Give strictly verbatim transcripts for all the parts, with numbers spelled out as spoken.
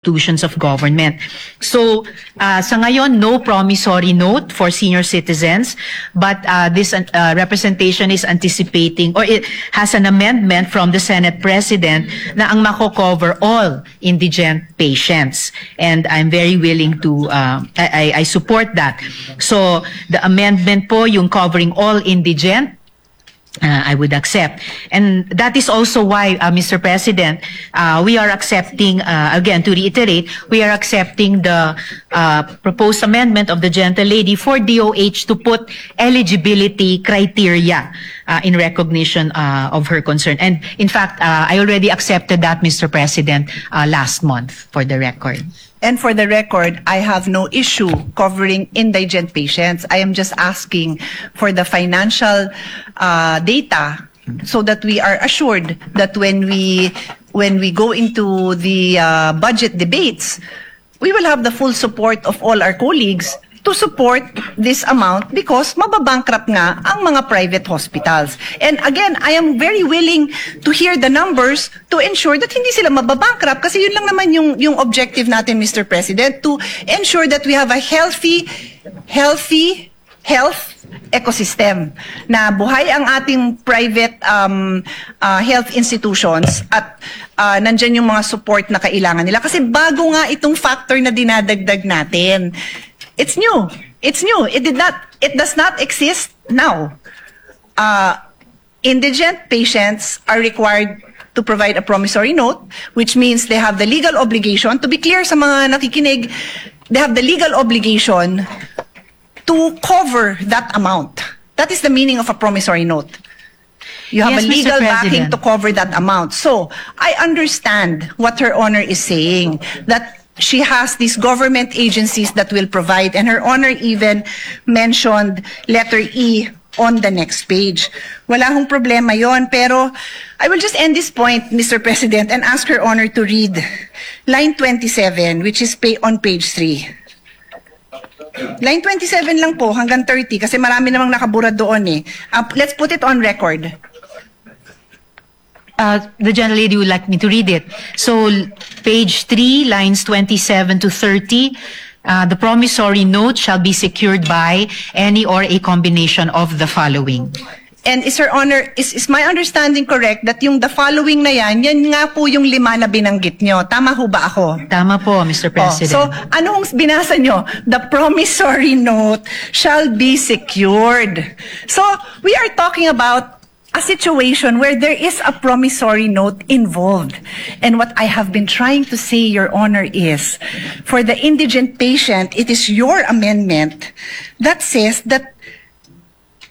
institutions of government. So, uh, sa ngayon, no promissory note for senior citizens, but uh, this uh, representation is anticipating or it has an amendment from the Senate President na ang mako-cover all indigent patients. And I'm very willing to, uh, I, I, I support that. So, the amendment po, yung covering all indigent, uh, I would accept. And that is also why, uh, Mister President, uh, we are accepting, uh, again, to reiterate, we are accepting the uh, proposed amendment of the gentle lady for D O H to put eligibility criteria uh, in recognition uh, of her concern. And in fact, uh, I already accepted that, Mister President, uh, last month, for the record. And for the record, I have no issue covering indigent patients. I am just asking for the financial uh, data so that we are assured that when we when we go into the uh, budget debates, we will have the full support of all our colleagues to support this amount because mababankrupt nga ang mga private hospitals. And again, I am very willing to hear the numbers to ensure that hindi sila mababankrupt kasi yun lang naman yung, yung objective natin, Mister President, to ensure that we have a healthy, healthy health ecosystem na buhay ang ating private um, uh, health institutions at uh, nandyan yung mga support na kailangan nila. Kasi bago nga itong factor na dinadagdag natin. It's new. It's new. It did not, it does not exist now. Uh, indigent patients are required to provide a promissory note, which means they have the legal obligation, to be clear sa mga nakikinig, they have the legal obligation to cover that amount. That is the meaning of a promissory note. You have Yes, a Mister legal backing President. to cover that amount. So, I understand what Her Honor is saying, that she has these government agencies that will provide, and Her Honor even mentioned letter E on the next page. Wala hong problema yon, pero I will just end this point, Mister President, and ask Her Honor to read line twenty-seven, which is pa- on page three. Line twenty-seven lang po, hanggang thirty, kasi marami namang nakabura doon eh. Uh, let's put it on record. Uh, the gentle lady would like me to read it. So, l- page three, lines twenty-seven to thirty, uh, the promissory note shall be secured by any or a combination of the following. And is Her Honor, is, is my understanding correct that yung the following na yan, yan nga po yung lima na binanggit nyo? Tama ho ba ako? Tama po, Mister Oh, President. So, anong binasa nyo? The promissory note shall be secured. So, we are talking about a situation where there is a promissory note involved. And what I have been trying to say, Your Honor, is for the indigent patient, it is your amendment that says that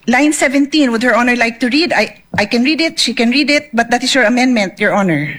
line seventeen, would Her Honor like to read? I, I can read it, she can read it, but that is your amendment, Your Honor.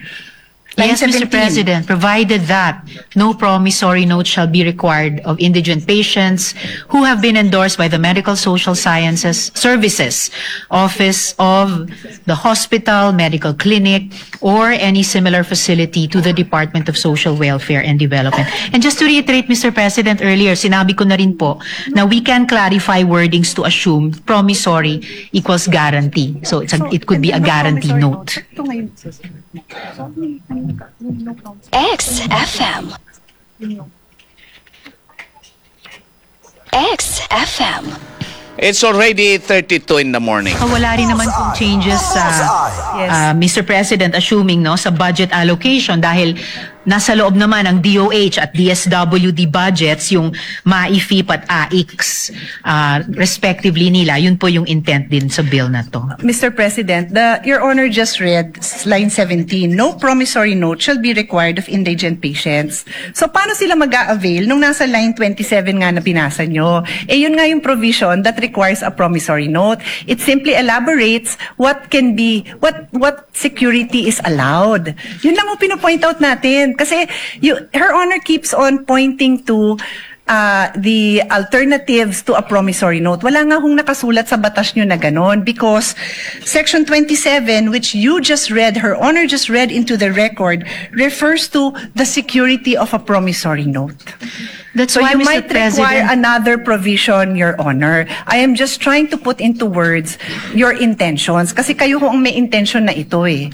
Line Yes, Mister seventeen. President, provided that no promissory note shall be required of indigent patients who have been endorsed by the Medical Social Sciences Services Office of the hospital, medical clinic, or any similar facility to the Department of Social Welfare and Development. And just to reiterate, Mister President, earlier, sinabi ko na rin po na we can clarify wordings to assume promissory equals guarantee. So, it's a, So, it could be a hindi ba guarantee promissory note. Ito ngayon, sir. X F M. X F M. It's already thirty-two in the morning. Ah, wala rin naman pong changes sa, Yes. ah, Mister President, assuming, no, sa budget allocation dahil nasa loob naman ang D O H at D S W D budgets, yung MAIFIP at AICS, ah, respectively nila. Yun po yung intent din sa bill na to. Mister President, the, Your Honor just read s- line seventeen, "No promissory note shall be required of indigent patients." So, paano sila mag-a-avail nung nasa line twenty-seven nga na binasa nyo? Eh, yun nga yung provision that requires a promissory note. It simply elaborates what can be, what, what security is allowed. Yun lang ang pinopoint out natin. Kasi, you, Her Honor keeps on pointing to uh, the alternatives to a promissory note. Wala nga hong nakasulat sa batas nyo na ganon because Section twenty-seven, which you just read, Her Honor just read into the record, refers to the security of a promissory note. That's So why, you Mister might require President, another provision, Your Honor. I am just trying to put into words your intentions. Kasi kayo ho ang may intention na ito eh.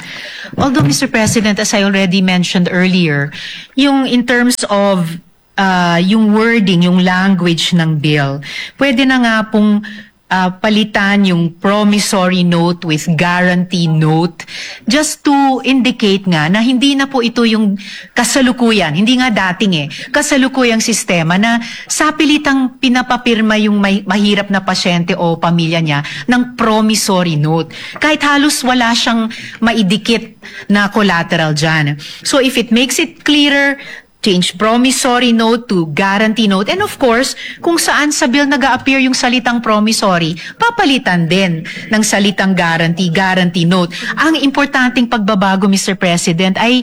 Although, Mister President, as I already mentioned earlier, yung in terms of uh, yung wording, yung language ng bill, pwede na nga pong uh, palitan yung promissory note with guarantee note, just to indicate nga na hindi na po ito yung kasalukuyan, hindi nga dating eh, kasalukuyang sistema na sapilitang pinapapirma yung may, mahirap na pasyente o pamilya niya ng promissory note. Kahit halos wala siyang maidikit na collateral dyan. So if it makes it clearer, change promissory note to guarantee note. And of course, kung saan sa bill nag-a-appear yung salitang promissory, papalitan din ng salitang guarantee, guarantee note. Ang importanteng pagbabago, Mister President, ay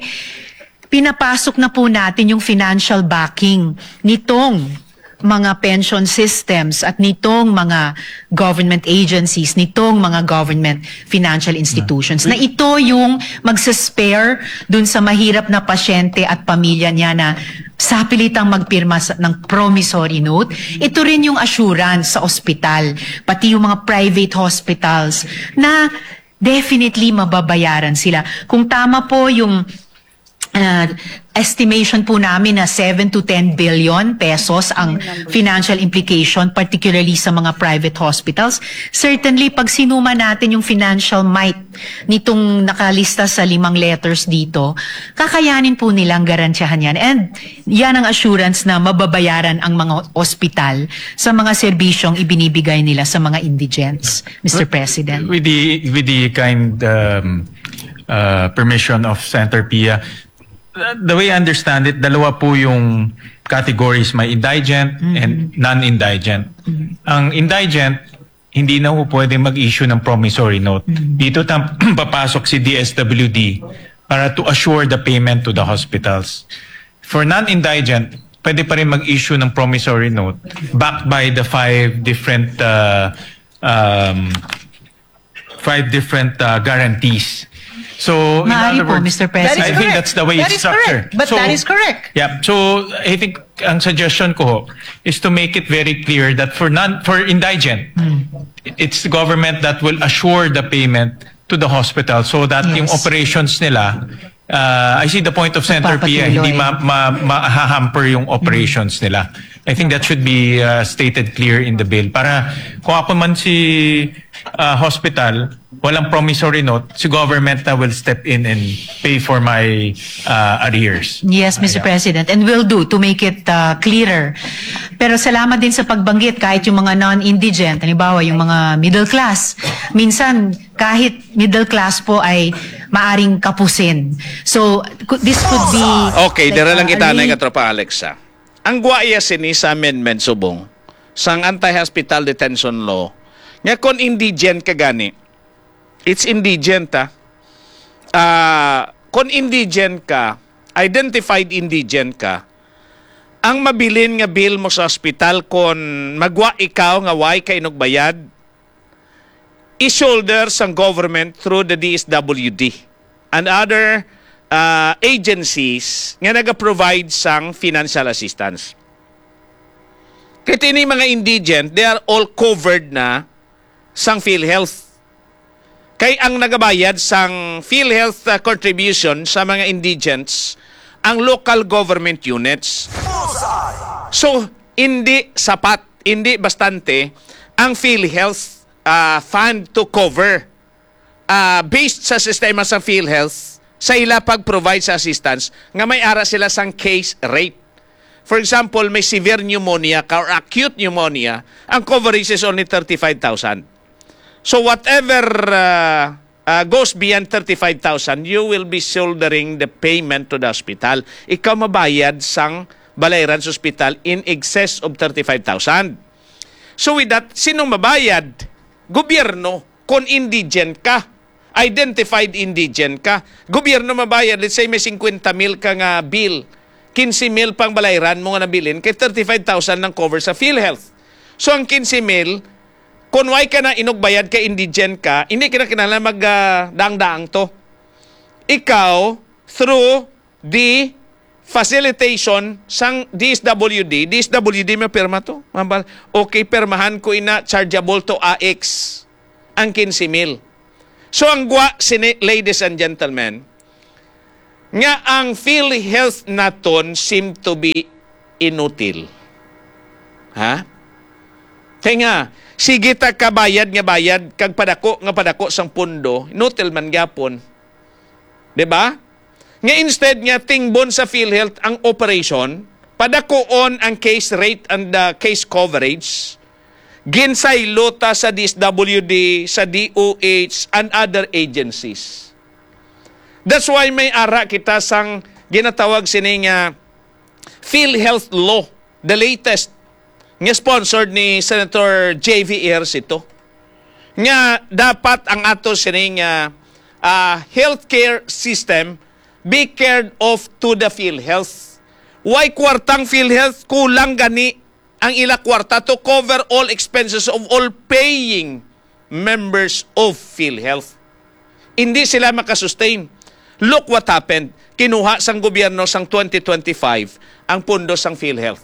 pinapasok na po natin yung financial backing nitong mga pension systems at nitong mga government agencies, nitong mga government financial institutions, na ito yung magsispare dun sa mahirap na pasyente at pamilya niya na sapilitang magpirma sa, ng promissory note. Ito rin yung assurance sa ospital, pati yung mga private hospitals na definitely mababayaran sila. Kung tama po yung uh, estimation po namin na seven to ten billion pesos ang financial implication, particularly sa mga private hospitals. Certainly, pag sinuma natin yung financial might nitong nakalista sa limang letters dito, kakayanin po nilang garantiyahan yan. And yan ang assurance na mababayaran ang mga ospital sa mga serbisyong ibinibigay nila sa mga indigents, Mister President. With the with the kind um, uh, permission of Senator Pia, uh, the way I understand it, dalawa po yung categories, may indigent and non-indigent. Ang indigent, hindi na po pwede mag-issue ng promissory note. Dito tam- papasok si D S W D para to assure the payment to the hospitals. For non-indigent, pwede pa rin mag-issue ng promissory note backed by the five different uh, um, five different uh, guarantees. So, in Maaari other po, words, Mister President. I think that's the way That it's is correct. Structured. But So, that is correct. Yeah. So, I think ang suggestion ko ho is to make it very clear that for non for indigent, it's the government that will assure the payment to the hospital so that Yes. yung operations nila, uh, I see the point of Senator Pia, hindi ma, ma, ma-hamper yung operations nila. I think that should be uh, stated clear in the bill. Para kung ako man si uh, hospital, walang promissory note, si government na will step in and pay for my uh, arrears. Yes, Mister President, and will do to make it uh, clearer. Pero salamat din sa pagbanggit, kahit yung mga non-indigent, halimbawa yung mga middle class, minsan kahit middle class po ay maaring kapusin. So, cou- this could be Okay, like, dira lang uh, kita a na re- katropa Alexa. Ang gwaya sini sa amendment subong sang anti-hospital detention law nga kon indigent ka gani, it's indigent ha. Ah, kon indigent ka, identified indigent ka, ang mabilin nga bill mo sa hospital kon magwa ikaw nga way ka inugbayad, i-shoulder sang government through the D S W D and other uh, agencies nga naga-provide sang financial assistance. Kay ini mga indigent, they are all covered na sang PhilHealth. Kay ang nagabayad sang PhilHealth uh, contribution sa mga indigents ang local government units. So, hindi sapat, hindi bastante ang PhilHealth uh, fund to cover uh, based sa sistema sa PhilHealth sa ila pag-provide sa assistance nga may ara sila sang case rate. For example, may severe pneumonia ka or acute pneumonia, ang coverage is only thirty-five thousand. So whatever uh, uh, goes beyond thirty-five thousand, you will be shouldering the payment to the hospital. Ikaw mabayad sang balayran sa hospital in excess of thirty-five thousand. So with that, sinong mabayad? Gobyerno, kung indigent ka, identified indigent ka. Gobyerno mabayad, let's say may fifty mil ka nga bill, fifty mil pang balayran mo nga nabilin, kay thirty-five thousand lang cover sa PhilHealth. So ang fifty mil, kung way ka na inugbayad kay indigent ka, hindi ka na kinahanglan mag ah, daang-daang to. Ikaw, through the facilitation sang D S W D, D S W D may pirma to. Mambal, okay, pirmahan ko ina, chargeable to A X ang quince mil. So ang gwa sini, ladies and gentlemen, nga ang PhilHealth naton seem to be inutil. Ha? Kay nga, sige ta ka bayad nga bayad, kag padako nga padako sang pundo, inutil man gyapon. Di ba? Nga instead nga tingbon sa PhilHealth ang operation, padakuon ang case rate and the case coverage, ginsaylo ta sa D S W D, sa D O H, and other agencies. That's why may ara kita sang ginatawag sini nga PhilHealth Law, the latest, nga sponsored ni Senator J V Ejercito, nga dapat ang ato sini nga, ah, healthcare system be cared of to the PhilHealth. Why kwartang PhilHealth? Kulang gani ang ila kwarta to cover all expenses of all paying members of PhilHealth. Hindi sila makasustain. Look what happened. Kinuha sang gobyerno sang twenty twenty-five ang pondo sang PhilHealth.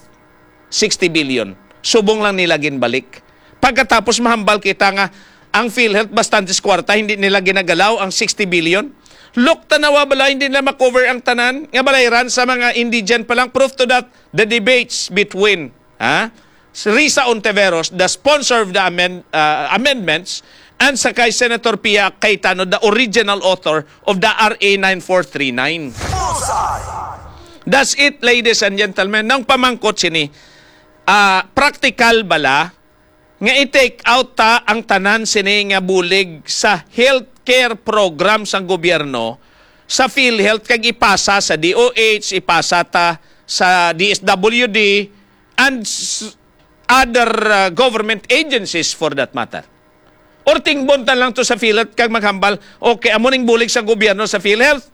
Sixty billion. Subong lang nila ginbalik. Pagkatapos mahambal kita nga ang PhilHealth bastantes kwarta, hindi nila ginagalaw ang sixty billion. Look, tanawa bala, hindi nila makover ang tanan nga balayran sa mga indigent pa lang. Proof to that, the debates between, ha? Risa Ontiveros, the sponsor of the amend-, uh, amendments, and sa kay Senator Pia Cayetano, the original author of the R A nine four three nine. Bullseye! That's it, ladies and gentlemen. Nang pamangkot sini, ah, practical bala nga i-take out ta ang tanan sini nga bulig sa healthcare program sang gobyerno sa PhilHealth kag ipasa sa D O H, ipasa ta sa D S W D, and s-, other, uh, government agencies for that matter. Or tingbon ta lang to sa PhilHealth kag maghambal, okay, amo ning bulig sa gobyerno sa PhilHealth,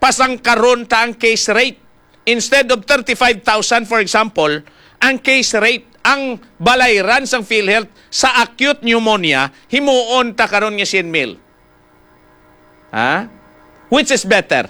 pasangkaron ta ang case rate. Instead of thirty-five thousand, for example, ang case rate, ang balayran sang PhilHealth sa acute pneumonia, himuon ta karon nga siyam mil. Ha? Which is better?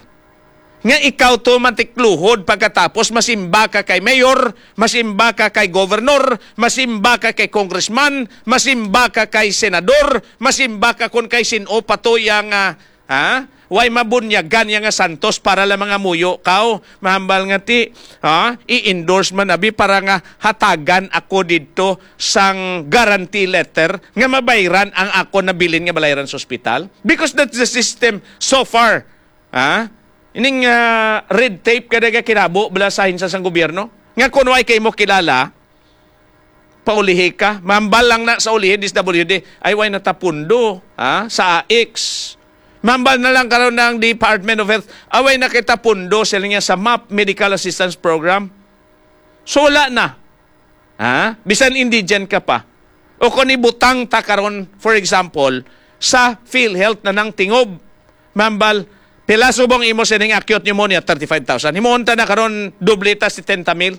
Nga ikaw to matikluhod, pagkatapos masimba ka kay mayor, masimba ka kay governor, masimba ka kay congressman, masimba ka kay senador, masimba ka kon kay sin-o pa to ya nga, ha? Way mabunyagan ya nga santos para lang mga muyo kaw, mahambal nga ti, ha? I-endorse man abi para nga hatagan ako didto sang guarantee letter nga mabayran ang ako nabilin nga balayran sa ospital. Because that's the system so far. Ha? Ining, ah, red tape ka nagakinabo bala sa ahensya sang gobyerno. Nga kun way kay mo kilala, paulihi ka. Mambal lang na sa ulihi, D S W D, ay way natapundo, ha? Sa A X. Mambal na lang karon ang Department of Health, away na kita pundo sila niya sa map Medical Assistance Program. So wala na. Ha? Bisan indigent ka pa. O kung ibutang ta karon, for example, sa PhilHealth na nang tingob, mambal, pila subong imo sining acute pneumonia? Thirty-five thousand. Himuon ta na karon, doble ta, setenta mil.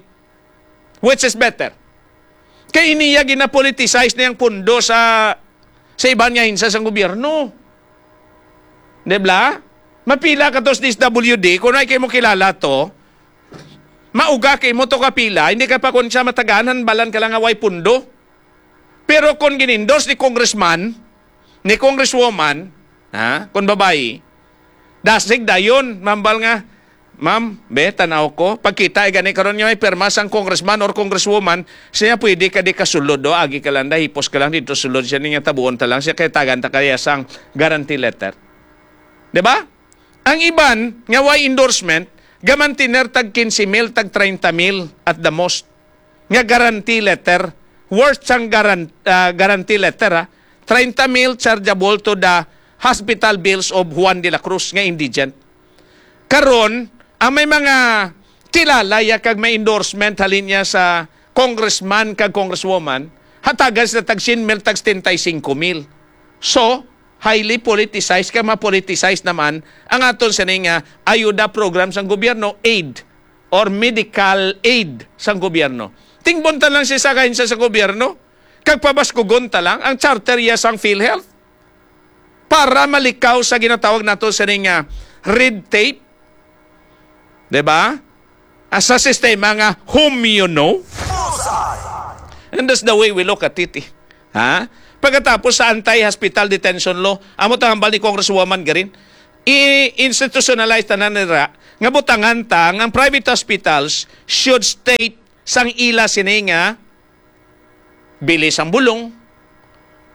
Which is better? Kay iniya ginapoliticize na yung pundo sa, sa iban nga hinsa sang gobyerno. Di ba? Mapila ka to sa D S W D, kung ay kayo mo kilala to, mauga kay mo to kapila, hindi ka pa kun siya matagaan, hanbalan ka lang nga way pundo. Pero kung ginindorse ni congressman, ni congresswoman, ha, kung babayi, dasig dayon, mambal nga, "Ma'am, be, tanaw ko. Pagkita, ay gani karon nga may pirma sang congressman or congresswoman, siya pwede ka di kasulod, do, agi ka lang, da, hipos ka lang dito sulod siya, niya tabuon ta lang siya, kay tagan ta kaya sang guarantee letter." Di ba? Ang iban nga way endorsement, gamantiner tag quince mil, tag treinta mil at the most nga guarantee letter, worth sang garan-, ah, guarantee letter, ha, treinta mil chargeable to the hospital bills of Juan de la Cruz nga indigent. Karon, ang may mga kilala ya kag may endorsement halin niya sa congressman kag congresswoman, hatagan sila tag siyam mil, tag setenta y cinco mil. So, highly politicized, kag mapoliticize naman ang aton sini nga ayuda program sang gobyerno, aid or medical aid sang gobyerno. Tingbon ta lang siya sa kahensya sa gobyerno, kag pabaskugon ta lang ang charter ya sang PhilHealth para malikaw sa ginatawag nato sini nga red tape. Di ba? Ah, sa sistema nga whom you know. And that's the way we look at it, eh. Ha? Pagkatapos sa anti-hospital detention law, amo tang hambal ni Congresswoman Garin, i-institutionalize tanan nira nga butangan ta nga ang private hospitals should state sang ila sini nga bili sang bulong,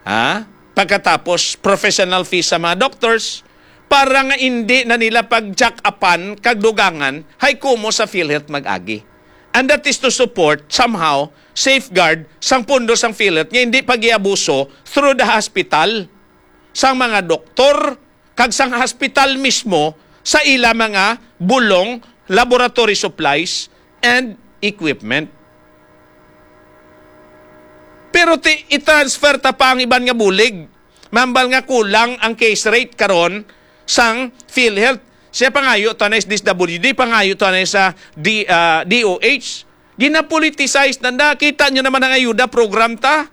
ha? Pagkatapos, professional fees sa mga doctors, para nga indi na nila pag-check-upan kag dugangan hay kumo sa PhilHealth mag-agi. And that is to support, somehow, safeguard sang pondo sang PhilHealth nga hindi pag-iabuso through the hospital sang mga doktor kag sang hospital mismo sa ila mga bulong, laboratory supplies, and equipment. Pero ti, i-transfer ta pa ang iban nga bulig. Mambal nga kulang ang case rate karon sang PhilHealth. Siya pangayo to na sa D S W D, pangayo to na sa D, ah, D O H. Ginapoliticize na na. Kita nyo naman ang ayuda program ta.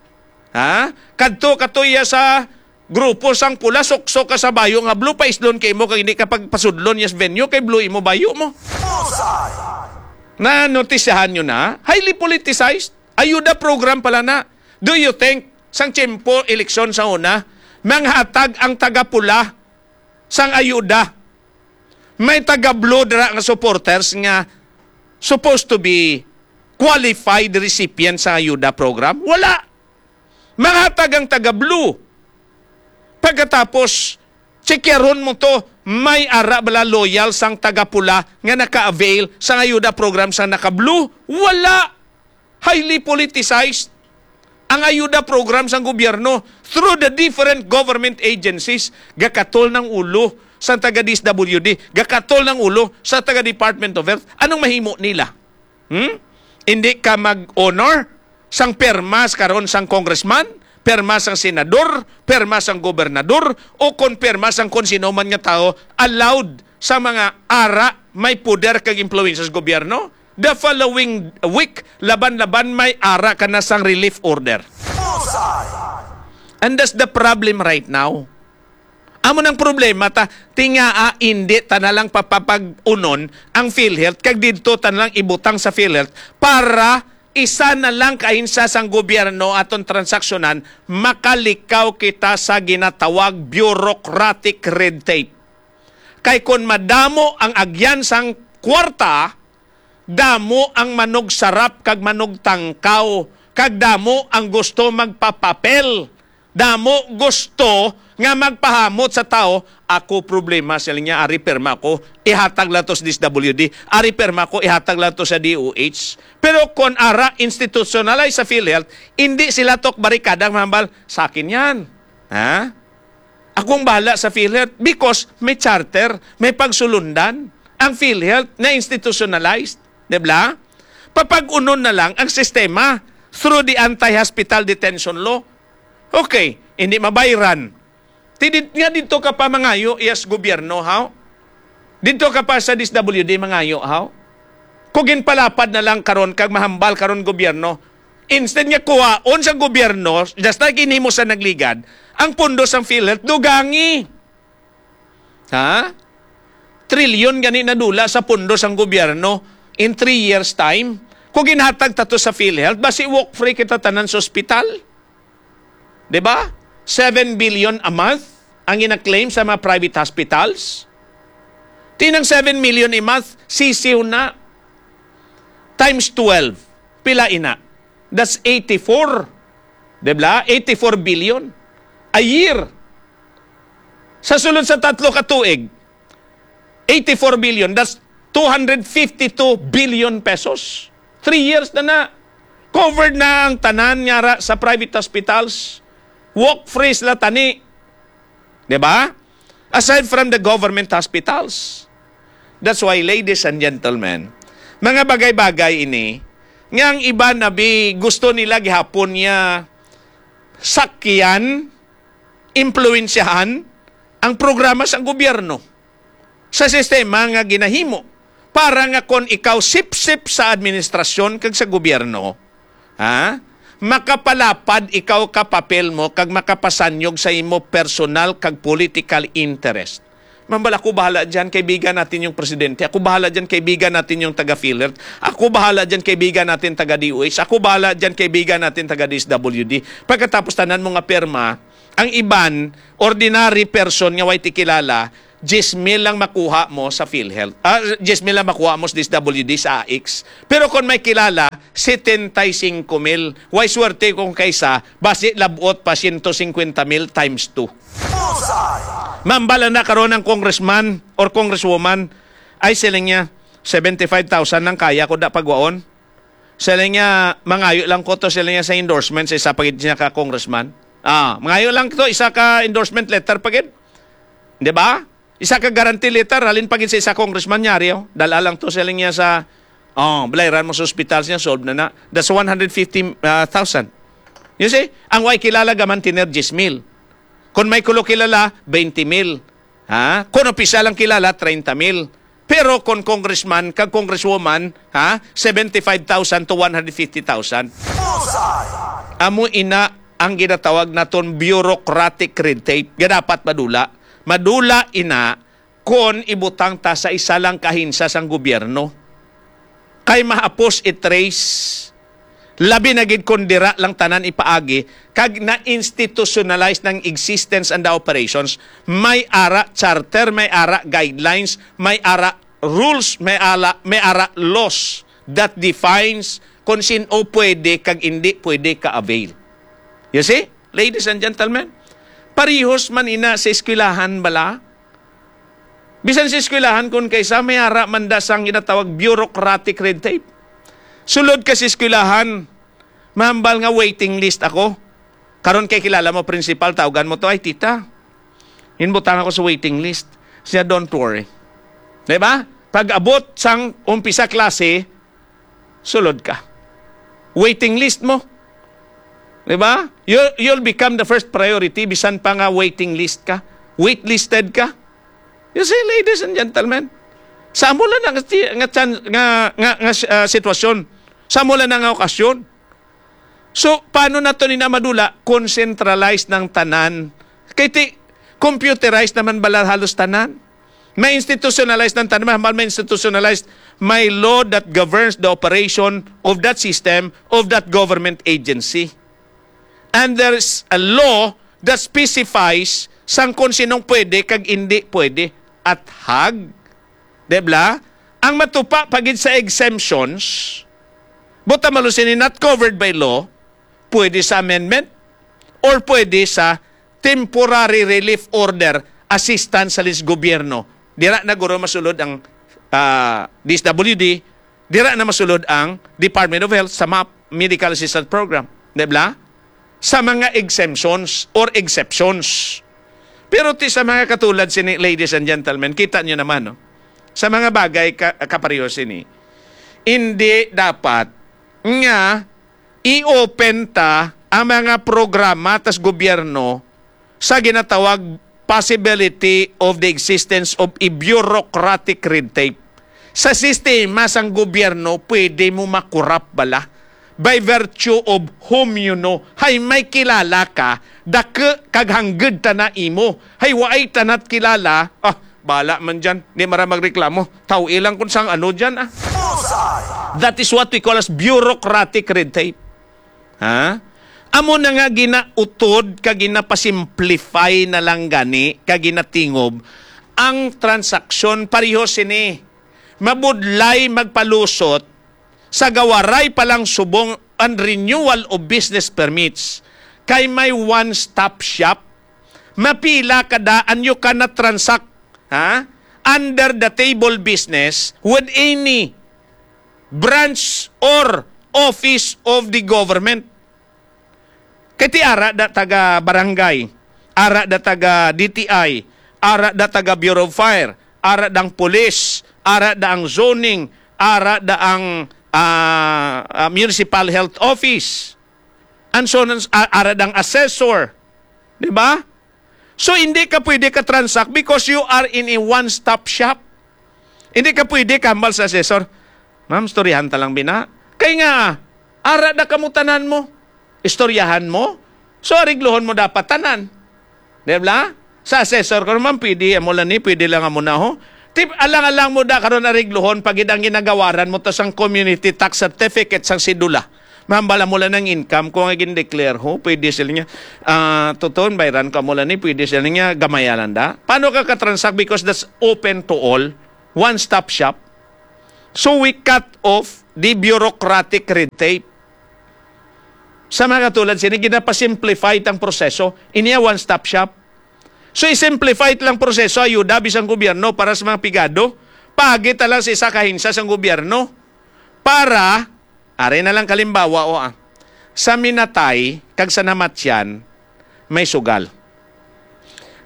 Ha? Kadto ka to iya sa grupo sang pula, suksok ka sa bayo nga blue, paislon kay mo kag hindi ka pagpasudlon yes venue kay blue imo bayo mo. Na notisyahan nyo na, highly politicized. Ayuda program pala na. Do you think sang tiyempo eleksyon sa una, manghatag ang taga-pula sang ayuda? May taga-blue dira nga supporters nga supposed to be qualified recipient sa ayuda program? Wala. Manghatag ang taga-blue. Pagkatapos, checkeron mo to, may ara bala loyal sang taga-pula nga naka-avail sang ayuda program sang naka-blue? Wala. Highly politicized. Ang ayuda program sang gobyerno through the different government agencies, gakatol ng ulo sa taga D S W D, gakatol ng ulo sa taga Department of Health. Anong mahimo nila? Hmm? Hindi ka mag-honor sang permas karon sang congressman, perma sang senador, perma sang gobernador, o kon perma sang kon sino man nga tawo allowed sa mga ara may poder kag impluwensya sa gobyerno? The following week, laban-laban may ara ka na sang relief order. And that's the problem right now. Amo nang problema ta, tingaa indi ta na lang papapag-unon ang PhilHealth kag didto ta na lang ibutang sa PhilHealth para isa na lang ka ahensya sang gobyerno aton transaksyonan, makalikaw kita sa ginatawag bureaucratic red tape. Kay kon madamo ang agyan sang kwarta, damo ang manugsarap kag manugtangkaw, kag damo ang gusto magpapapel. Damo gusto nga magpahamot sa tawo, "Ako problema," siling niya, "ari pirma ko, ihatag lang to sa D S W D. Ari pirma ko, ihatag lang to sa D O H." Pero kon ara institutionalize sa PhilHealth, hindi sila tok barikada mahambal, "Sa akin yan." Ha? Akong bahala sa PhilHealth because may charter, may pagsulundan. Ang PhilHealth na institutionalized, di ba? Papag-unon na lang ang sistema through the anti-hospital detention law. Okay, hindi mabayran. Tidit nga dito ka pa mangayo, yes, gobyerno, haw? Dito ka pa sa D S W D mangayo, haw? Kung ginpalapad na lang karon kag mahambal karon gobyerno, instead nga kuhaon sa gobyerno, just like ginhimo sa nagligad, ang pondo sang PhilHealth, dugangi. Ha? Trilyon gani nadula sa pondo sang gobyerno in three years time. Kung ginhatag ta to sa PhilHealth, basi walk free kita tanan sa ospital. Di ba? Seven billion a month ang gina-claim sa mga private hospitals. Tinang seven million a month, sisiw na. Times twelve. Pila ina? That's eighty-four. Di ba? Eighty-four billion a year. Sa sulod sa tatlo ka tuig, eighty-four billion, that's two hundred fifty-two billion pesos. Three years na na. Covered na ang tanan nga ra sa private hospitals. Walk free sila tani. Di ba? Aside from the government hospitals. That's why, ladies and gentlemen, mga bagay-bagay ini nga ang iban abi gusto nila gihapon nga sakyan, impluwensyahan ang programa sa gobyerno sa sistema nga ginahimo para nga kon ikaw sipsip sa administrasyon kag sa gobyerno, ha, makapalapad ikaw ka papel mo kag makapasanyog sa imo personal kag political interest. Mambal, "Ako bahala dyan, kaibigan natin yung presidente. Ako bahala dyan, kaibigan natin yung taga PhilHealth. Ako bahala dyan, kaibigan natin taga D O H. Ako bahala dyan, kaibigan natin taga D S W D." Pagkatapos tanan mo nga pirma, ang iban, ordinary person nga way ti kilala, diyes mil lang makuha mo sa PhilHealth. Ah, diyes mil lang makuha mo sa D S W D, sa A I C S. Pero kung may kilala, setenta y cinco mil. Way swerte kung kaysa, basi labot pa, siyento singkwenta mil times two. Bullseye! Mambal na karon ang congressman or congresswoman, ay, siling niya, "Seventy-five thousand lang kaya ko da pagwaon." Siling niya, "Mangayo lang ko to," siling niya, "sa endorsement sa isa pa gid niya ka congressman." Ah, "Mangayo lang to, isa ka endorsement letter pa gid." Di ba? Isa ka guarantee letter, halin pa gid sa isa congressman niya, Rio. Dala lang to, siling niya, sa, oh, balayran mo sa ospital siya, solve na na. That's one hundred fifty thousand. You see? Ang way kilala gaman tiner diyes mil. Kung may kulo kilala, twenty mil. Ha? Kung opisyal ang kilala, treinta mil. Pero kung congressman kag congresswoman, ha, seventy-five thousand to one hundred fifty thousand. Bullseye! Amo ina ang ginatawag naton bureaucratic red tape nga dapat madula. Madula ina kon ibutang ta sa isa lang ka ahensya sang gobyerno. Kay mahapos i-trace, labi na gid kon dira lang tanan ipaagi, kag na-institutionalize ng existence and the operations. May ara charter, may ara guidelines, may ara rules, may ala, may ara laws that defines kung sino pwede kag hindi pwede ka-avail. You see, ladies and gentlemen, parihos man ina sa eskwelahan bala. Bisan sa eskwelahan, kung kaysa may ara man da sang ginatawag bureaucratic red tape. Sulod ka sa eskwelahan, mahambal nga waiting list ako. Karon kay kilala mo, principal, tawgan mo to, "Ay, tita, inbutang ako sa waiting list." Siya, "Don't worry." Di ba? Pag abot sang umpisa klase, sulod ka. Waiting list mo. Di ba? You'll, you'll become the first priority, bisan pa nga waiting list ka. Waitlisted ka. You see, ladies and gentlemen, samo lang nga, nga, chan- nga, nga, nga, ah, sitwasyon. Samo lang nga okasyon. So, paano nato ni na madula? Kung centralized ng tanan. Kay ti, computerized naman bala halos tanan. May institutionalized ng tanan. Mahal may institutionalized. May law that governs the operation of that system, of that government agency. And there's a law that specifies sang kung sinong pwede kag hindi pwede. At hag, di ba? Ang matupa pa gid sa exemptions, buta malusini not covered by law, pwede sa amendment or pwede sa temporary relief order, assistance sa lis gobyerno. Dira na guro masulod ang, ah, D S W D, dira na masulod ang Department of Health sa map medical assistance program, di ba? Sa mga exemptions or exceptions. Pero ti sa mga katulad sini, ladies and gentlemen, kita nyo naman, no? Sa mga bagay ka, kapareho sini, hindi dapat nga i-open ta ang mga programa tas gobyerno sa ginatawag possibility of the existence of a bureaucratic red tape. Sa sistema sang gobyerno, pwede mo makurap bala by virtue of whom you know. Hay may kilala ka, dake kag hangged ta na imo. Hay waay tanat kilala, ah, bala man dyan. Di mara magreklamo. Taw ilang kung sang ano dyan, ah. Bullseye! That is what we call as bureaucratic red tape. Ha? Amo na nga ginautod kag ginapasimplify na lang gani kag ginatingob ang transaksyon. Pareho sini, mabudlay magpalusot sa gawaray pa lang subong ang renewal of business permits kay may one-stop shop. Mapila ka daan you cannot transact, ha? Under the table business with any branch or office of the government. Kay ti ara da taga barangay, ara da taga D T I, ara da taga Bureau of Fire, ara da ang police, ara da ang zoning, ara da ang, ah, ah, municipal health office, and so on, ah, ara da ang assessor. Di ba? So, hindi ka pwede ka-transact because you are in a one-stop shop. Hindi ka pwede kahambal sa assessor, "Ma'am, istoryahan ta lang bina." Kay nga, ara na kamo tanan mo. Istoryahan mo. So, ariglohon mo dapat tanan. Di ba? Sa assessor ko naman, pwede, amo lang ni, pwede lang amo na, ho. Tip, alang-alang mo da karon areglohon, pag gid ang ginagawaran mo to sang community tax certificate sang sidula. Mambala mo lang ang income ko nga gin-declare, ho. Pwede sila niya, ah, tuton, bayran ka mo lang ni, pwede sila niya, gamaya lang da. Paano ka ka-transact? Because that's open to all. One-stop shop. So we cut off the bureaucratic red tape. Sa mga katulad sini, ginapasimplify tang proseso. Ini ang one-stop shop. So, i-simplify lang proseso, ayuda bisan gobyerno para sa mga pigado. Pagit lang sa isa ka ahensya sang gobyerno. Para, ari na lang kalimbawa, o, ah, sa minatay kag sa namatyan, may sugal.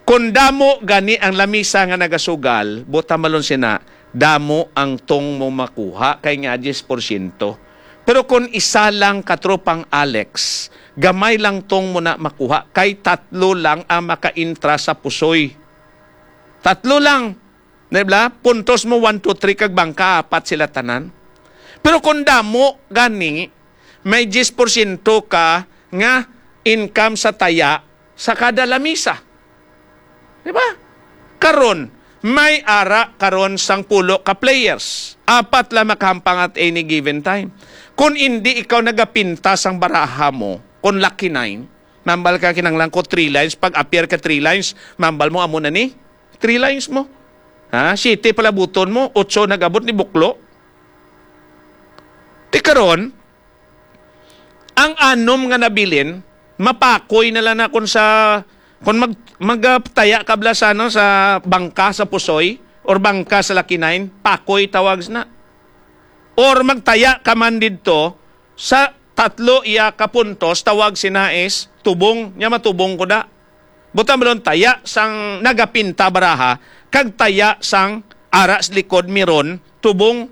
Kon damo gani ang lamisa nga nagasugal, buta malon sina, damo ang tong mo makuha kay nga diyes porsyento. Pero kon isa lang ka tropang Alex, gamay lang tong mo na makuha kay tatlo lang ang makaintra sa pusoy. Tatlo lang. Di ba? Puntos mo one, two, three kag bangka, apat sila tanan. Pero kung damo gani, may diyes porsyento ka nga income sa taya sa kada lamisa. Di ba? Karon, may ara karon sang pulo ka players. Apat lang makahampang at any given time. Kung hindi ikaw nagapinta sang baraha mo, kung lucky nine, mambal ka kinanglan ko three lines, pag appear ka three lines, mambal mo amo na ni, three lines mo. Ha? Siyete palabuton mo, otso nag-abot ni buklo. Ti karon, ang anom nga nabilin, mapakoy na lang na kung sa, kung mag, magtaya ka bala sa, ano, sa bangka sa Pusoy or bangka sa Lakinay, pakoy tawag na. Or magtaya ka man didto sa tatlo iya ka puntos, tawag sina is tubong, nya matubong ko da. Buta malon taya sang nagapinta baraha, kag taya sang ara sa likod miron, tubong.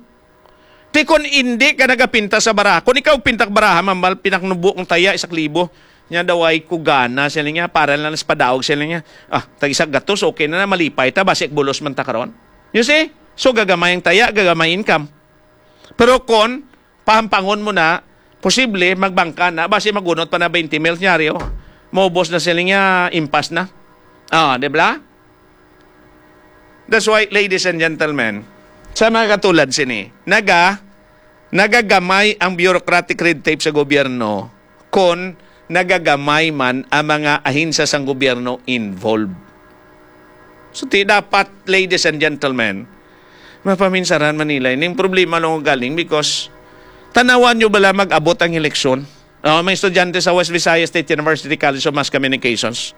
Ti kon indi ka nagapinta sa baraha, kon ikaw pintak baraha, mambal pinaknubo ang taya, isak libo. Nya daw ay ko gana, sila niya, para lang sa padaog, sila niya. Ah, tag isak gatos, okay na na, malipay ta, basi bulos man ta karon. You see? So, gagamay ang taya, gagamay income. Pero kon pahampangon mo na, posible, magbangka na, basi magunot pa na twenty mil, nyari, oh. Maubos na sila niya, impas na. Ah, di ba? That's why, ladies and gentlemen, sa mga katulad sini, naga, nagagamay ang bureaucratic red tape sa gobyerno kon nagagamay man ang mga ahensya sang gobyerno involved. So, ti dapat, ladies and gentlemen, mapaminsaran man nila. Ining problema lang galing because tanawan nyo bala mag-abot ang eleksyon? Oh, may estudyante sa West Visayas State University College of Mass Communications.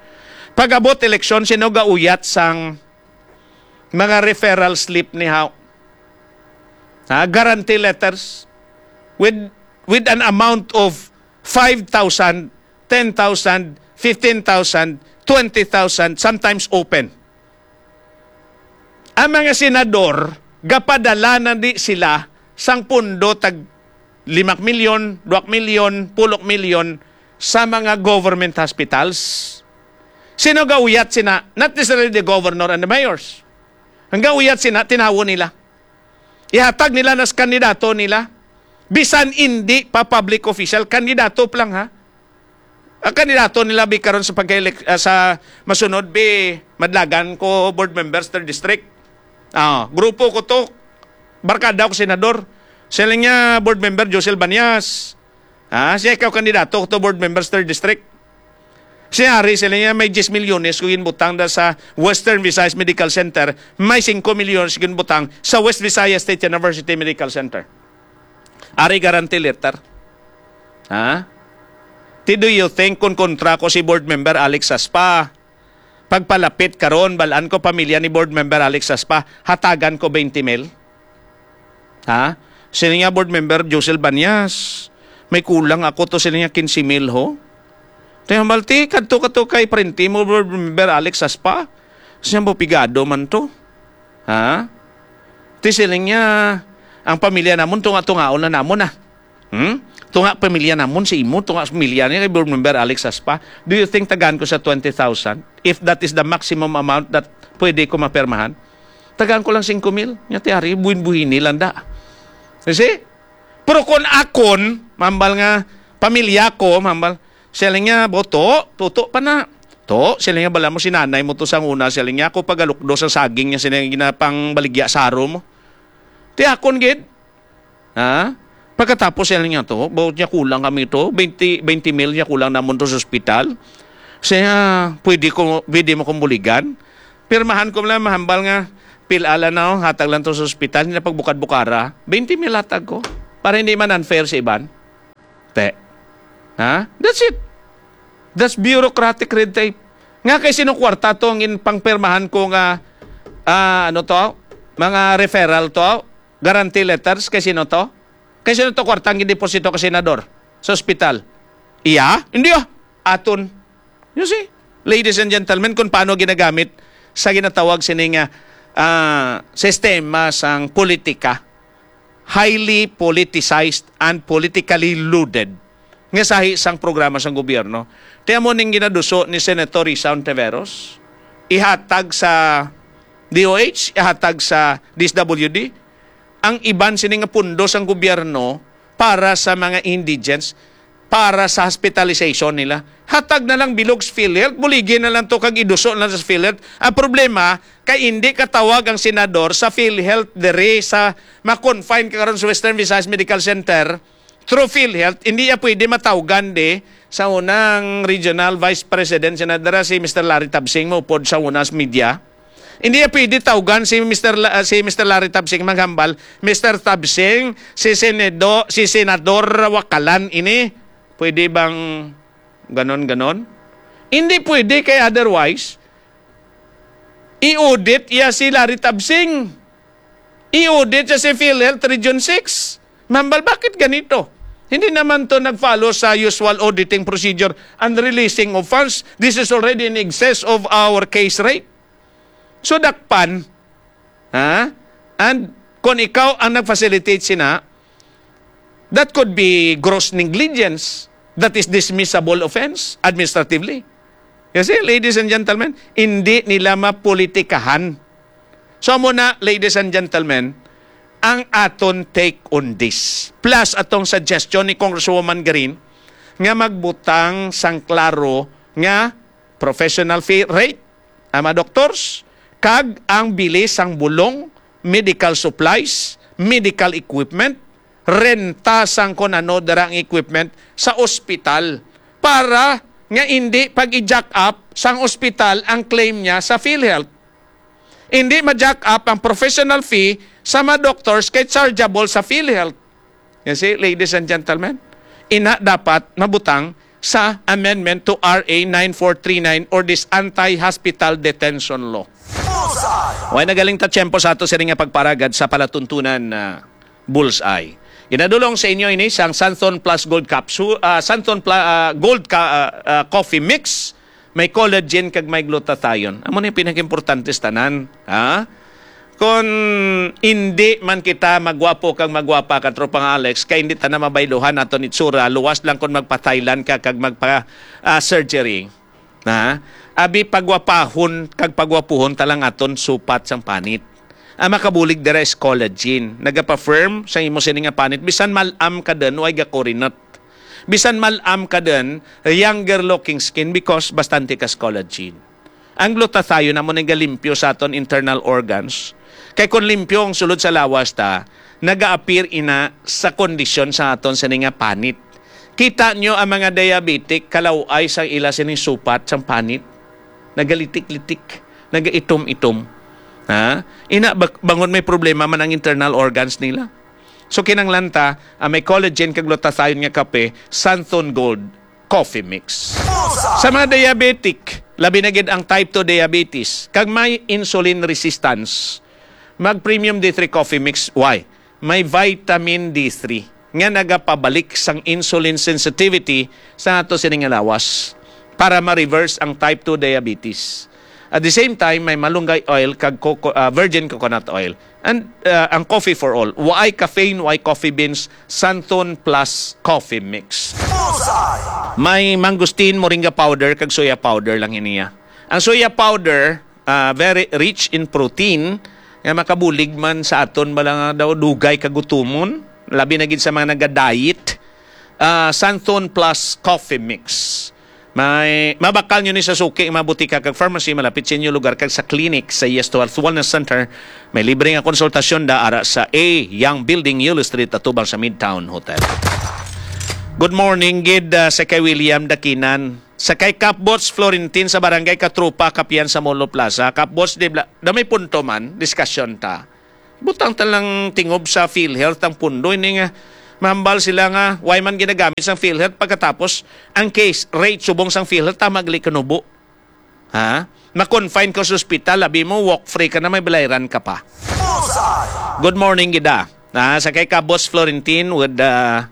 Pag-abot eleksyon, sino gauyat sang mga referral slip ni How? Ha? Guarantee letters with, with an amount of five thousand, ten thousand, fifteen thousand, twenty thousand, sometimes open. Ang mga senador, gapadala na di sila sang pundo tag lima milyon, dua milyon, pulo milyon sa mga government hospitals. Sino gauyat sina? Not necessarily the governor and the mayors. Ang gauyat sina, tinawo nila. Ihatag nila nas kandidato nila. Bisan indi pa public official, kandidato pa lang, ha? Ang kandidato nila bi karon sa pagka-elec-, ah, sa masunod bi, Madlagan ko, board members, third district. Ah, grupo ko to, barkada ko senador. Sila niya, board member, Josel Banias. Ah, siya ikaw kandidato ko to, board members, third district. Si Harry, sila niya, may diyes milyones ko ginbutang da sa Western Visayas Medical Center, may singko milyones ginbutang sa West Visayas State University Medical Center. Ari guarantee letter. Ha? Ti, do you think kung kontra ko si board member Alex Saspa, pagpalapit karon, balaan ko pamilya ni board member Alex Saspa, hatagan ko twenty mil? Ha? Sini nga board member Josel Banyas, may kulang ako to sini nga quince mil ho. Ti hambal ti, kadto ka to kay parente mo, board member Alex Saspa. Siya mo pigado man to. Ha? Ti siling niya, ang pamilya namon, tunga-tungaon na namon, ah. Hmm? Tunga pamilya namon sa imo, tunga pamilya ni kay board member Alex Saspa. Do you think tagaan ko sa twenty thousand? If that is the maximum amount that pwede ko mapermahan, tagaan ko lang singko mil. Nya ti ari, buhin-buhini lang da. You see? Pero kung akon, mambal nga, pamilya ko, mambal, siya lang niya, boto, tuto pa na. O, sila nga, "Bala mo, si nanay mo to sang una," sila nga, "ako pagalukdo sa saging niya, sila nga ginapangbaligya sa aro mo." Ti akon gid. Ha? Pagkatapos sila nga to, "Bawat niya kulang kami to, twenty, twenty mil niya kulang namon to sa ospital. Siya, pwede ko, pwede mo kong buligan?" Pirmahan ko lang, mahambal nga, "Pil-ala na, oh, hatag lang to sa ospital, hindi na pagbukad-bukara. Twenty mil hatag ko. Para hindi man unfair sa iban." Te. Ha? That's it. That's bureaucratic red tape. Nga kay sino kwarta to ang in-, pangpirmahan ko nga, ah, ano to? Mga referral to? Guarantee letters kay sino to? Kay sino to kwarta ang gideposito ka senador sa ospital? Iya? Hindi ah. Aton. You see? Ladies and gentlemen, kung paano ginagamit sa ginatawag sini nga, ah, sistema sang politika, highly politicized and politically loaded nga sahi sang programa sang gobyerno. Ti amo ning ginaduso ni Senator Risa Ontiveros, ihatag sa D O H, ihatag sa D S W D, ang iban sini nga pundo sang gobyerno para sa mga indigents, para sa hospitalization nila. Hatag na lang bilog sa PhilHealth, buligi na lang to kag iduso na lang sa PhilHealth. Ang problema, kay hindi katawag ang senador sa PhilHealth diri sa ma-confine ka karon sa Western Visayas Medical Center through PhilHealth, hindi ya pwede matawgan di sa unang regional vice president, senadora si Mister Larry Tabsing, maupod sa una sa media. Hindi ya pwede tawgan si Mister La-, si Mister Larry Tabsing maghambal, "Mister Tabsing, si Senedo, si Senador Wakalan ini." Pwede bang ganon-ganon? Hindi pwede, kay otherwise, i-audit ya si Larry Tabsing. I-audit ya si PhilHealth Region six. Mahambal, bakit ganito? Hindi naman to nag-follow sa usual auditing procedure and releasing of funds. This is already in excess of our case rate. So, dakpan, ha? And kung ikaw ang nag-facilitate sina, that could be gross negligence. That is dismissible offense administratively. You see, ladies and gentlemen, hindi nila mapolitikahan. So, amo na, ladies and gentlemen, ang aton take on this. Plus, atong suggestion ni Congresswoman Garin nga magbutang sang klaro nga professional fee rate ang mga doctors, kag ang bili sang bulong, medical supplies, medical equipment, renta sang kon ano dira ang equipment sa ospital, para nga hindi pag-i-jack up sang ospital ang claim niya sa PhilHealth. Hindi ma-jack up ang professional fee sa mga doctors kay chargeable sa PhilHealth. You see, ladies and gentlemen, ina dapat mabutang sa amendment to R A nine four three nine or this anti-hospital detention law. Bullseye! Way nagaling ta tiyempo sa ato sini nga pagparagad sa palatuntunan na Bullseye. Ginadulong sa inyo ini sang Santon Plus Gold Capsule, ah, Santon Pla-, ah, Gold Ca-, ah, ah, Coffee Mix. May collagen kag may glutathione. Amo ni pinakaimportante sa tanan, ha? Kon hindi man kita magwapo kag magwapa, Katropang Alex, kay hindi ta na mabayluhan aton itsura, luwas lang kon magpa-Thailand ka kag magpa, ah, surgery. Ha? Abi, pagwapahon kag pagwapuhon ta lang aton supat sang panit. Ang makabulig dira is collagen. Nagapa-firm sa imo sini nga panit, bisan mal-am ka din, way gakurinot. Bisan mal-am ka din, younger looking skin because bastante kas collagen. Ang glutathione amo nang galimpyo sa aton internal organs. Kay kung limpyo ang sulod sa lawas ta, nagaapir ina sa kondisyon sa aton sini nga panit. Kita nyo ang mga diabetic, kalaw-ay sa ila sining supat sang panit. Nagalitik-litik, nagaitom-itom. Ha? Ina, bak-, bangon may problema man ang internal organs nila. So, kinanglan ta, ah, may collagen kag glutathione nga kape, Santon Gold Coffee Mix. Sa mga diabetic, labi na gid ang type two diabetes, kag may insulin resistance, mag Premium D three Coffee Mix. Why? May vitamin D three nga nagapabalik sang insulin sensitivity sa ato sining lawas para ma-reverse ang type two diabetes. At the same time, may malunggay oil kag coco-, ah, virgin coconut oil. And, ah, ang coffee for all. Waay caffeine, waay coffee beans, Santon Plus Coffee Mix. May mangosteen, moringa powder, kag soya powder lang iniya. Ang soya powder, ah, very rich in protein, nga makabulig man sa aton bala nga daw dugay kagutumon, labi na gid sa mga naga-diet. Ah, Santon Plus Coffee Mix. May mabakal nyo ni sa suki nga mga butika kag pharmacy malapit sa inyo lugar kag sa clinic sa Yes to Health Wellness Center. May libre nga konsultasyon da ara sa A Young Building, Yulo Street, atubang sa Midtown Hotel. Good morning gid, ah, sa kay William Dakinan. Sa kay Kapbots Florentin sa Barangay Katrupa, Kapian sa Molo Plaza. Kapbots, di bla, da may punto man, diskusyon ta. Butang ta lang tingob sa PhilHealth ang pundo ini nga mahambal sila nga way man ginagamit sang PhilHealth pagkatapos ang case rate subong sang PhilHealth tama gali kanubo. Ha? Ma-confine ka sa ospital, labi mo walk free ka na may balayran ka pa. Good morning gid, ah. Ah, sa kay Kabos Florentin with, ah,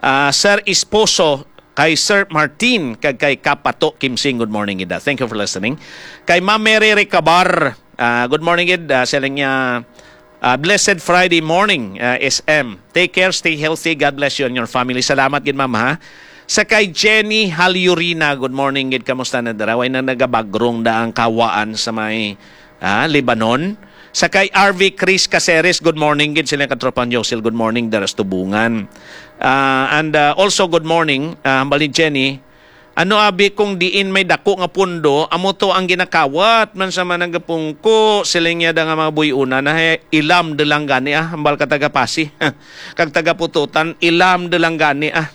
ah, Sir Esposo, kay Sir Martin, kag kay Kapato Kimsing. Good morning gid, ah. Thank you for listening. Kay Ma'am Mary Recabar, ah, good morning gid, ah, siling niya, ah, blessed Friday morning, ah, S M. Take care, stay healthy. God bless you and your family. Salamat gid, ma'am, ha. Sa kay Jenny Halyurina, good morning gid. Kamusta na dira? Way na nagabagrong da ang kawaan sa may, ah, Lebanon. Sa kay R V Chris Caceres, good morning gid sila katropang Josil. Good morning dira sa Tubungan. Ah, and, ah, also good morning, ah, hambal ni Jenny. Ano abi kung diin may dako nga pundo, amo to ang ginakawat man sa managapungko, siling niya da nga mga buy-una na, "Hey, ilam de lang gani, ah, hambal ka taga Pasi." Kag taga Pututan, "Ilam de lang gani, ah."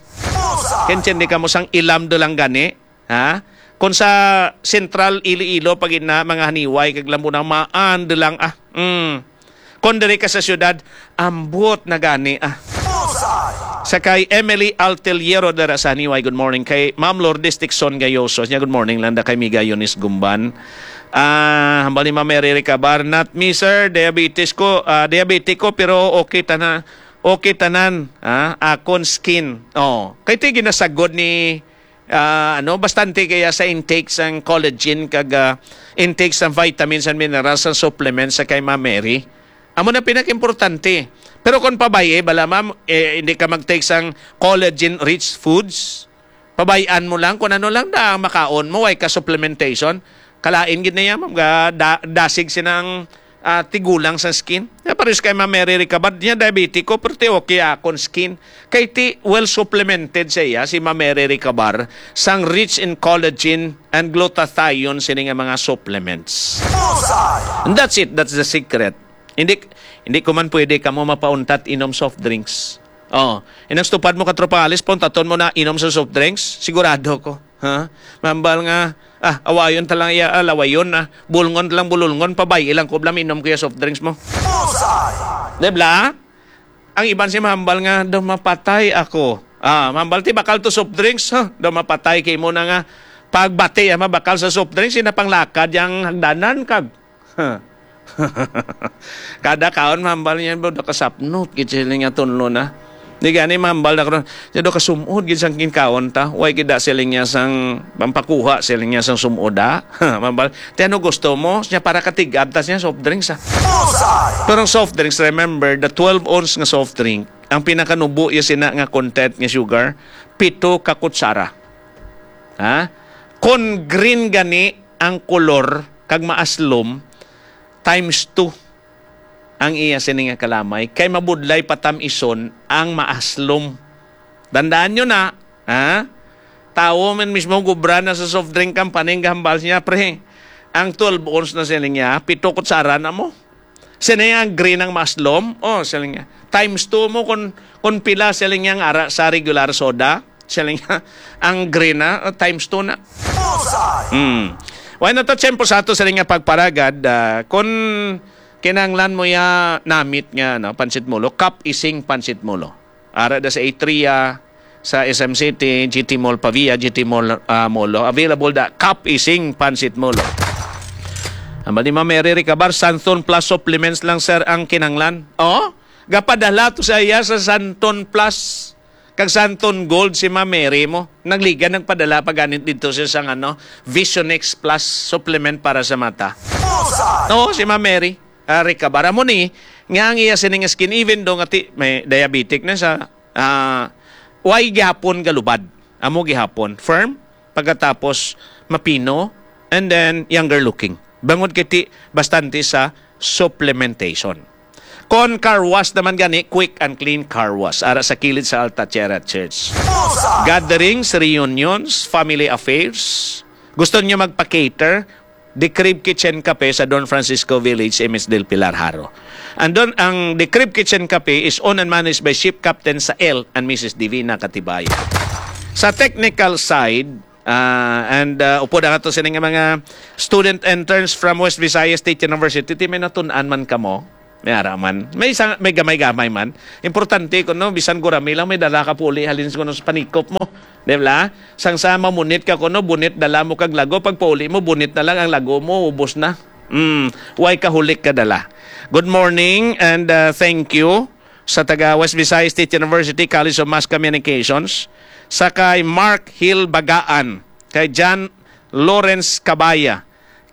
Kentindi kamo sang ilam de lang gani, ha? Kung sa Central Iloilo, pag ina, mga haniway, kag lambo na, maan de lang, ah. Mm. Kon diri ka sa siyudad, ambot na gani, ah. Sa kay Emily Alteliero dara sa Haniway, good morning. Kay Ma'am Lourdes Dixon Gayoso, niya, good morning lang da kay Miga Eunice Gumban. Ah, hambal ni Ma'am Mary Recabar, "Not me, sir. Diabetes ko, ah, diabetic ko, pero okay tanan. Okay tanan, ah, akon skin." Oh, kay ti ginasagod ni, ah, ano, bastante kaya sa intake sang collagen kag, ah, intake sang vitamins and minerals, sang supplements sa kay Ma'am Mary. Amo na pinakaimportante. Pero kung pabay-i, bala, ma'am, eh, hindi ka mag-take sang collagen-rich foods. Pabay-an mo lang kung ano lang na ang makaon mo, way ka supplementation. Kalain gid na yan, ma'am, ga, da, dasig sinang, ah, tigulang sa skin. Ya, pares kay Ma'am Mary Recabar, niya diabetiko, pero ti okay akon skin. Kay ti well supplemented sa iya, si Ma'am Mary Recabar, sang rich in collagen and glutathione sini nga mga supplements. And that's it, that's the secret. Hindi, hindi ko man pwede kamo mapauntat inom soft drinks. Oh, inang stupad mo, Katropa Alice, pauntaton mo na inom sa soft drinks? Sigurado ko. Ha? Mambal nga, ah, awayon ta lang iya, ah, lawayon, ah. Bulngon ta lang, bululngon, pabay-i lang ko bala, inom ko iya soft drinks mo. Di bala? Ang iban si mahambal nga, "Daw mapatay ako." Ah, mahambal ti bakal to soft drinks, ha? "Daw mapatay kay mo na nga pagbati, ah, mabakal sa soft drinks, sina panglakad yang hagdanan kag." Kada kaon, mahambal niya, "Daw kasapnot," gid sila nga tunlo na. Di gani, mahambal na karon. Siya daw kasumod gid sang kinkaon ta. Way gid da siling niya sang pampakuha, siling niya sang sumod, ah. Mahambal, "Ti ano gusto mo?" Siya para katig-ab ta siya soft drinks, ah. Pero ang soft drinks, remember, the twelve ounce nga soft drink, ang pinakanubo iya sina nga content nga sugar, pito ka kutsara. Ha? Kon green gani ang kolor kag maaslom, times two ang iya sini nga kalamay, kay mabudlay patam-ison ang maaslom. Dandaan nyo na, ha? Tawo man mismo gubra na sa soft drink company, ang gahambal niya, "Pre, ang twelve ounce na sini niya, pito kutsara na mo." Sini ang green ang maaslom, oh, sini niya. Times two mo kung, kung pila sini niya ang ara sa regular soda. Sini niya, ang green na, oh, times two na. Hmm. Why na to, tiyempo sa ato sini nga pagparagad, ah, kung kinahanglan mo ya namit nga, no, pansit mulo, Kap Ising pansit mulo. Ara da sa Atria, sa S M City, G T Mall Pavia, G T Mall, ah, Molo. Available da Kap Ising pansit mulo. Ang ni Ma'am Mary Recabar, Santon Plus supplements lang, sir, ang kinahanglan. Oh, gapadala to sa iya sa Santon Plus. Kag Santon Gold si Ma'am Mary mo. Nagliga, nagpadala pa ganit dito siya sa, ano, Visionex Plus supplement para sa mata. Oo, si Ma'am Mary, ah, Recabar. Amo ni, nga ang iya sining skin, even do nga ti, may diabetic na sa, ah, way gihapon galubad. Amo gihapon. Firm, pagkatapos mapino, and then younger looking. Bangod kay ti, bastante sa supplementation. Con Car Wash naman gani, quick and clean car wash. Ara sa kilid sa Alta Tierra Church. Gatherings, reunions, family affairs. Gusto niyo magpa-cater? The Crib Kitchen Cafe sa Don Francisco Village, M S Del Pilar, Jaro. And don, ang The Crib Kitchen Cafe is owned and managed by Ship Captain Sael and Missus Divina Katibaya. Sa technical side, ah, and, ah, upod ang ato sining mga student interns from West Visayas State University, ti may natun-an man kamo? May ara man. May isa, may gamay-gamay man. Importante kuno, bisan gurami lang, may dala ka puli halin kuno sa panikop mo. Di ba? Sang sa mamunit ka kuno, bunit dala mo kag lago, pag pauli mo, bunit na lang ang lago mo, ubos na. Mm, way kahulik ka dala. Good morning and, uh, thank you sa taga West Visayas State University College of Mass Communications, sa kay Mark Hill Bagaan, kay John Lawrence Cabaya,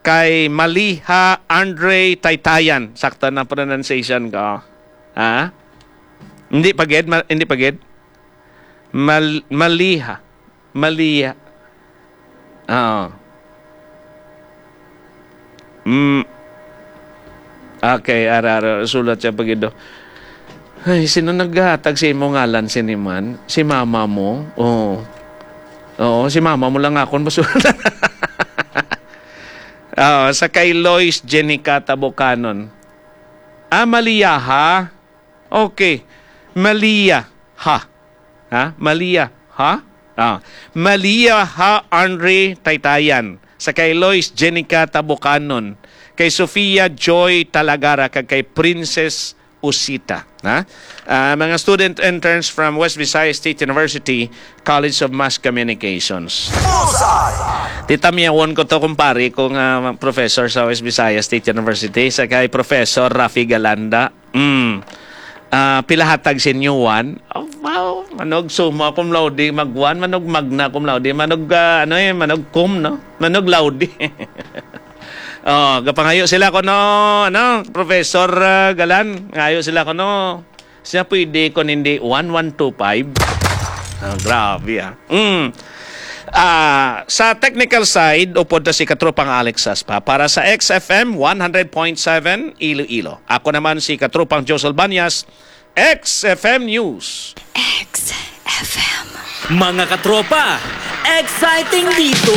kay Maliha Andre Taytayan. Sakto na pronunciation ko. Ha? Hindi pa gid? Ma-, hindi pa gid? Mal-, Maliha. Maliha. Oo. Mm. Okay, ara, ara, sulat siya pag ido. Ay, sino naghatag sa imo ngalan, sini man? Si mama mo? Oo. Oo, si mama mo lang akon masulat. Oo, sa kay Lois Jenica Tabucanon. Ah, Malia ha? Okay. Malia ha? Ha? Malia ha? Ah, Malia ha Andre Taytayan. Sa kay Lois Jenica Tabucanon. Kay Sofia Joy Talagara kag kay Princess Usita. Ha? Ah, mga student interns from West Visayas State University College of Mass Communications. Bullseye! Titamyawon ko to, kumpare, kung, ah, professor sa West Visayas State University, sa kay Professor Rafi Galanda. Mm. Ah, pila hatag sa inyo, one? Oh, wow. Manog summa cum laude, mag one, manog magna cum laude, manog, ah, ano eh, manog cum, no? Manog laude. Oh, gapangayo sila kuno, ano, Professor, ah, Galan, ngayo sila kuno. Siya pwede kung hindi one one two five. Ah, grabe, ah. Mm. Ah, sa technical side, upod na si Katropang Alex Saspa. Para sa X F M one hundred point seven Iloilo. Ako naman si Katropang Josel Banyas, X F M News. X F M. Mga katropa, exciting dito!